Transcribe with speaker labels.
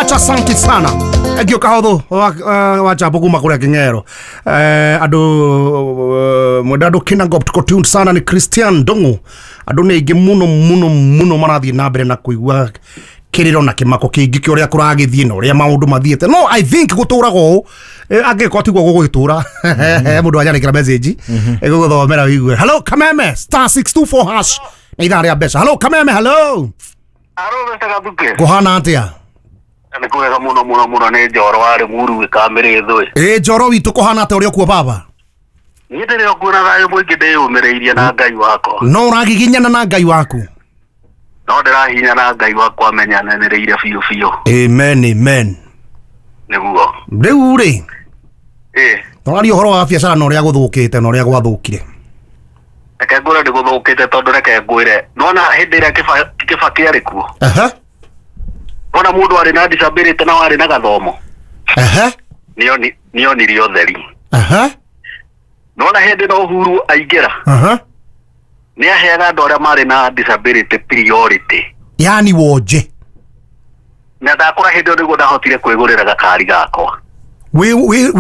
Speaker 1: much, asante sana. Thank you kahotho wa jambo kuma kuria King'ero. Andu mwenda andu Kinangop tuko tuned sana ni Christian Ndung'u. Andu nĩ aingĩ mũno mũno mũno marathiĩ na mbere na kũigua kĩrĩro na kĩmako kĩingĩ kĩa ũrĩa kũragĩthiĩ na ũrĩa maũndũ mathiĩte. No I think gũtũraga ũũ, angĩkorwo tiguo gũgũgĩtũra, mũndũ anyandĩkĩra message ĩgũgũthomera wĩigue. Hello Kameme, *624# na ithaa rĩa mbeca. Hello Kameme, hello.
Speaker 2: Aro Mr. Gathuke.
Speaker 1: Kũhana atĩa?
Speaker 2: Nĩ kwega mũno mũno mũno, nĩ Njoro warĩ Muru gĩkamĩrĩ thũĩ.
Speaker 1: Ĩ Njoro witũ, kũhana atĩa ũrĩa kuo baba?
Speaker 2: Niĩ ndĩrĩ o kuo na thayũ mũingĩ, ndĩyũmĩrĩirie na Ngai wakwa.
Speaker 1: No ũragiginyana na Ngai waku?
Speaker 2: No ndĩrahinya na Ngai wakwa menyananĩrĩire biũ biũ.
Speaker 1: Amen, amen.
Speaker 2: Nĩguo.
Speaker 1: Rĩu rĩ,
Speaker 2: Ĩ.
Speaker 1: tũraria ũhoro wa biacara na ũrĩa gũthũkĩte na ũrĩa gwathũkire.
Speaker 2: Reke ngwĩre nĩ gũthũkĩte, tondũ reke ngwĩre, nona hĩndĩ ĩrĩa Kĩbakĩ arĩ kuo, nona mũndũ arĩ na disability na warĩ na gathomo, nĩonirie ũtheri. Nona hĩndĩ no Uhuru aingĩra, nĩ aheaga andũ arĩa marĩ na disability priority.
Speaker 1: Yani wonje.
Speaker 2: Na ndakũra hĩndĩ ĩyo nĩguo ndahotire kwĩgũrĩra gakari gakwa.
Speaker 1: Wĩ